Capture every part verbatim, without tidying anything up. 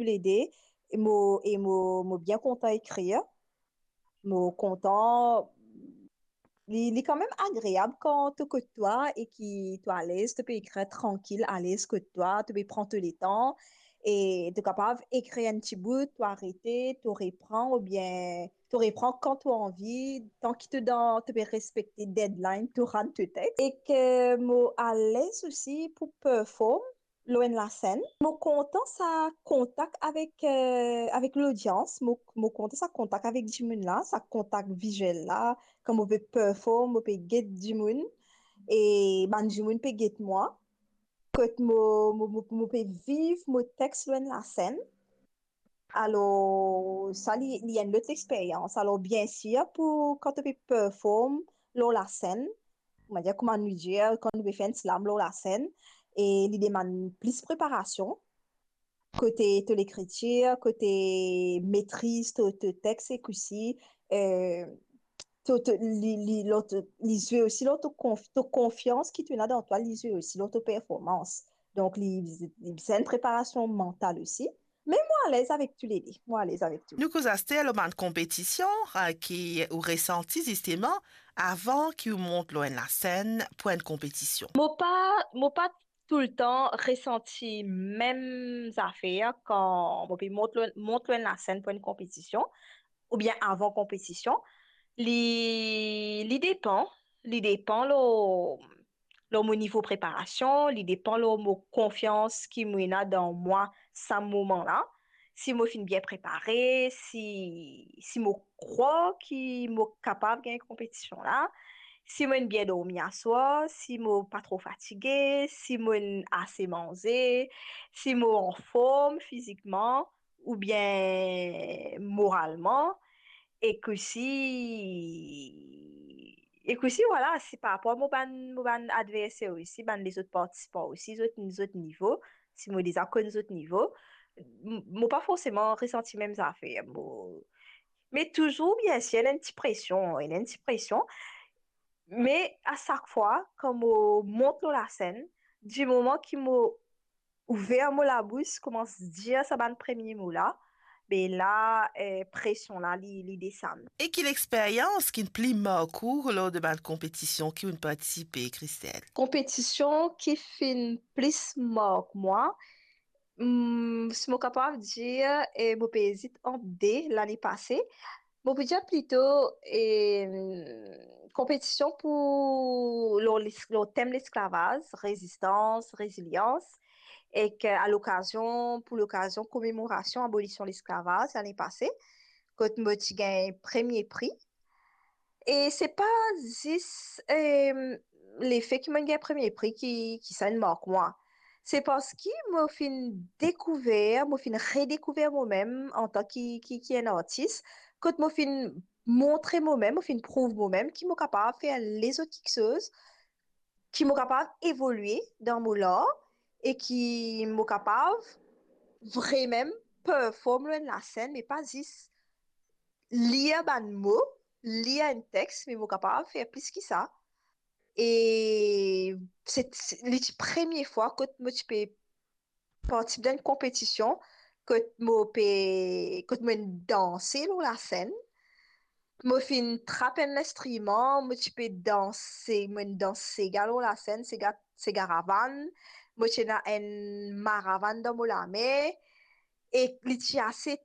toulede, e mo, e mo, mo bien kontan ekrir. Mo kontan, li, li kanmem agreab kan to kot twa e ki to alez, to pe ekrir trankil, alez kot twa, to pe pran to letan, e to kapav ekrir enn ti bout, to arete, to repran, oubien to repran kan to anvi, tan ki to dan, to pe respekte deadline, to rann to text. E ke mo alez osi pou perform lor enn lasenn. Mo kontan sa kontak avek, eh, avek lodians, mo, mo kontan sa kontak avek dimoun la, sa kontak viziel la, kan mo pe perform, mo pe get dimoun, e bann dimoun pe get mwa, kot mo, mo, mo, mo pe viv mo text lor enn lasenn. Alor, sa li, li enn lot experyans. Alor, biensir, pou kan to pe perform lor lasenn, on va dire, kouma nou dir, kan nou pe fer enn slam lor lasenn, e li demann plis preparasion, kote to lekritir, kote metriz to, to text, ek osi, eh, to, to, li, li, lor to, li zwe osi lor to konf-, to konfians ki to ena dan twa, li zwe osi lor to performans. Donk, li, li bizin enn preparasion mantal osi. Me mo alez avek toulede. Mo alez avek tou. Nou koz aster lor bann konpetision, eh, ki ou resanti zisteman avan ki ou mont lor enn lasenn pou enn konpetision. Mo pa, mo pa toultan resanti mem zafer kan mo pe mont lor, mont lor enn lasenn pou enn konpetision, oubien avan konpetision. Li, li depan, li depan lor, lor mo nivo preparasion, li depan lor mo konfians ki mo ena dan mwa sa moman la. Si mo finn bien prepare, si, si mo krwar ki mo kapav gagn konpetision la, si mo'nn bien dormi aswar, si mo pa tro fatige, si mo'nn ase manze, si mo anform fizikman oubien moralman, ek osi, ek osi, vwala, si par rapor mo bann, mo bann adverser osi, bann lezot partisipan osi, zot, zot nivo, si mo deza konn zot nivo, m-, mo pa forseman resanti mem zafer. Mo, me touzour, biensir, ena enn ti presion, ena enn ti presion. Me a sak fwa, kan mo mont lor lasenn, di moman ki mo ouver mo labous, koumans dir sa bann premie mo la, be la, eh, presion la, li, li desann. E ki lexperyans ki'nn pli mark ou lor de bann konpetision ki ou'nn partisipe, Christelle? Konpetision ki finn plis mark mwa, hmm, si mo kapav dir, eh, mo pe ezit ant de lane pase. Mo pou dir plito, eh, konpetision pou, lor lis-, lor tem lesklavaz, rezistans, rezilians, ek, eh, a lokazion, pou lokazion komemorasion abolision lesklavaz lane pase, kot mo ti gagn premie pri. E se pa zis, eh, lefe ki mo'nn gagn premie pri ki, ki sa inn mark mwa. Se parski mo finn dekouver, mo finn redekouver momem antan ki, ki, ki enn artis, kot mo finn montre momem, mo finn prouv momem ki mo kapav fer lezot kiksoz, ki mo kapav evolie dan mo lar e ki mo kapav vremem perform lor enn lasenn, me pa zis lir bann mo, lir enn text, me mo kapav fer plis ki sa. E se, se, li ti premie fwa kot mo ti pe partisip dan enn konpetision, kot mo pe, kot mo'nn danse lor lasenn. Mo finn trap enn linstriman, mo ti pe danse, mo'nn dans sega lor lasenn, sega, sega ravann. Mo ti ena enn maravann dan mo lame. E li ti ase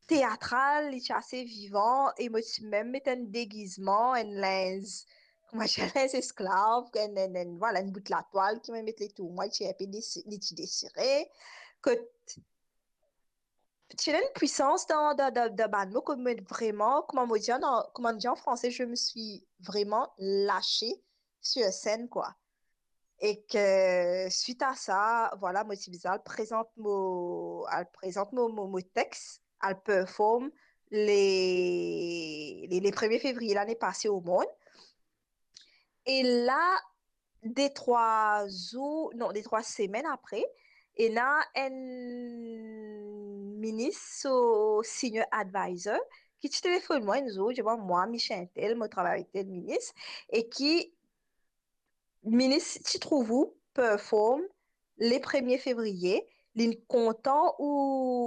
teatral, li ti ase vivan, e mo ti mem met enn degizman, enn linz, kouma dir, linz esklav, enn, enn, enn, vwala, enn bout latwal ki mo met letour mwa, li ti inpe desi-, li ti desire. Kot ti ena enn pwisans dan, dan, dan, dan bann mo, kot mo vreman, kouma mo dir an, kouma nou dir an franse, je me suis vraiment lâchée sur scène, quoi. Ek swit a sa, vwala, mo ti bizin al prezant mo, al prezant mo, mo, mo text, al perform le, le, le premie fevriye lane pase o mond. E la, de trwa zour, non, de trwa semenn apre, ena enn minis, so senior advisor, ki ti telefonn mwa enn zour, dir mwa, mwa, Michel tel, mo travay avek tel minis, e ki minis ti trouv ou perform le premie fevriye, li kontan ou